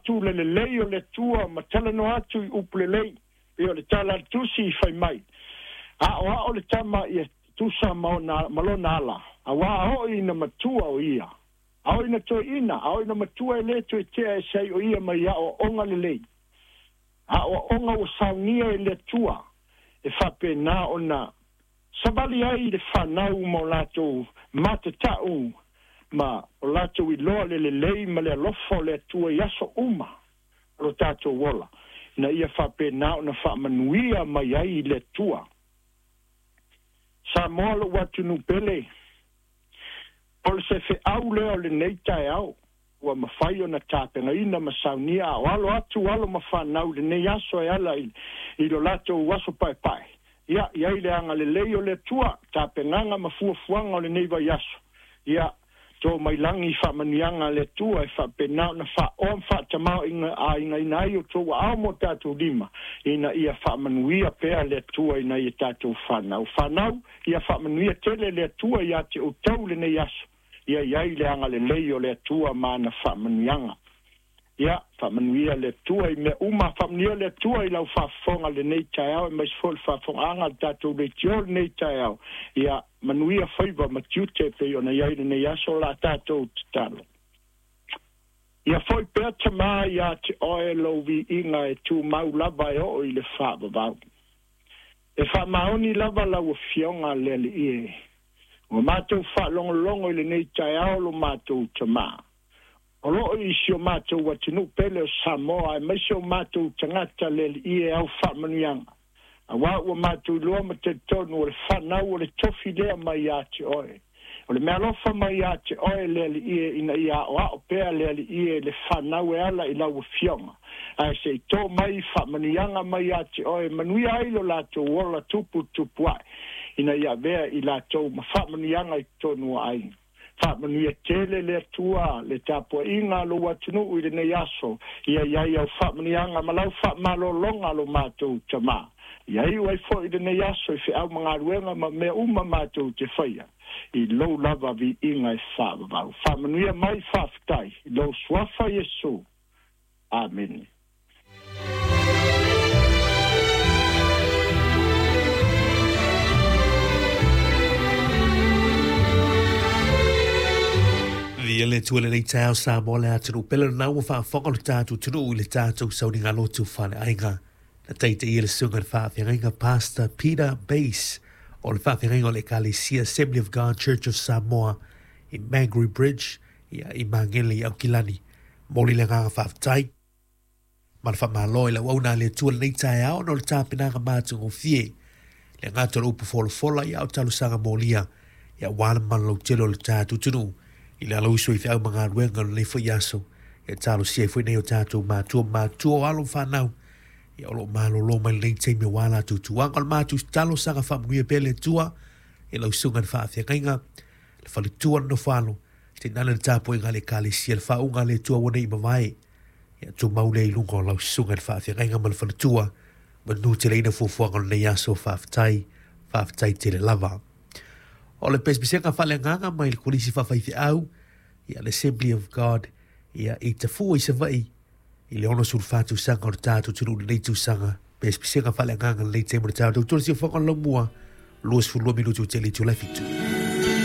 atu le lelei o le Atua ma talanoa atu i upu lelei, pei o le tala a le Tusi i fai mai, Aoao le tama ia tusa ma ona ma lona ala, auā oo ina matua o ia. A oo ina toeaina, a oo ina matua e lē toe tea ese ai o ia mai aoaoga lelei. Aoaoga ua saunia e le Atua e faapena ona savali ai le fanau ma o latou matatau ma o latou iloa le lelei ma le alofa o le Atua i aso uma o lo tatou ola, ina ia faapena ona faamanuia mai ai le Atua. Samoa lou atunuu pele, o se feau lea o lenei taeao ua mafai ona tapenaina ma saunia a o alo atu alo ma fanau i lenei aso e ala i lo latou aso paepae. Ia, i ai le agalelei o le Atua, tapenaga ma fuafuaga o lenei vaiaso. Ia, to mai lagi faamanuiaga a le Atua e faapena ona faaoa ma faatamaoaigaina ai outou aao ma o tatou lima, ina ia faamanuia pea le Atua i nai a tatou fanau. Fanau, ia faamanuia tele le Atua ia te outou lenei aso, ia i ai le agalelei o le Atua ma ana faamanuiaga. Ia, faamanuia le Atua i mea uma, faamanuia le Atua i lau faafofoga lenei taeao, aemaise foi le faafofogaaga a le tatou leitio lenei taeao. Ia, manuia faiva ma tiute e pei ona i ai lenei aso o la tatou tatalo. Ia foi pea Tamā ia te oe lou viiga e tumau lava e oo i le faavavau. E faamaoni lava lau Afioga le Alii e. Ua matou faalogologo i lenei taeao lo matou Tamā. O lo o i si o matou atunuu pele o Samoa aemaise o matou tagata le Alii e au faamanuiaga. Auā ua matou iloa ma talitonu o le fanau o le tofi lea mai ia te oe. O le meaalofa mai ia te oe le Alii e ina ia aoao pea le Alii e le fanau e ala i lau Afioga. Ae se i tō mai faamanuiaga mai ia te oe e manuia ai lo latou ola tupu tupu ae, ina ia avea i latou ma faamanuiaga i totonu o aiga. Faamanuia tele le Atua le tapuaiga a lou atunuu i lenei aso, ia i ai au faamanuiaga ma lau faamalologa lo matou Tamā. Ia iu ai foi lenei aso i feau ma galuega ma mea uma matou te faia, i lou lava viiga e faavavau. Faamanuia mai, faafetai, i lou Suafa Iesu. Amene. Viia le Atua i lenei taeao Samoa le atunuu pele lena ua faafofoga lo tatou atunuu i le tatou sauniga lotu faleaiga. Na taitaia le susuga i le faafeagaiga Pastor Peter Bass o le faafeagaiga o le Ekalesia Assembly of God Church of Samoa i Mangere Bridge ia, i Magele i Aukilani. Momoli le agaga faafetai ma le faamalo i le auauna a le Atua lenei taeao ona o le tapenaga matagofie. Le gata o le upu folafola ia o talosaga molia ia aua le mamalu lautele o le tatou atunuu i le alauiso i feau ma galuega o lenei foi aso. Ia talosia ai foi nei o tatou matua ma matua o alo ma fanau ia o lo o malolo mai lenei taimi aua latou tuaga. O le matou talosaga faamanuia pea le Atua i lau susuga i le faafeagaiga, le faletua, le nofoalo, Tainane le tapuaiga a le Ekalesia, le faauuga a le Atua ua nei i mavae. Ia tumau lea i luga o lau susuga i le faafeagaiga ma le faletua, manu teleina fuafuaga o lenei aso, faafetai, faafetai tele lava. O le pesepesega faaleagaga mai le Kolisi Faafaifeau, ia le Assembly of God, ia i Tafua i Savaii, i le 64 tausaga o le tatou atunuu i lenei tausaga, pesepesega faaleagaga lenei taimi o le tatou tautoa le siufofoga o le laumua, 22 minuti ua tele i itula e fitu.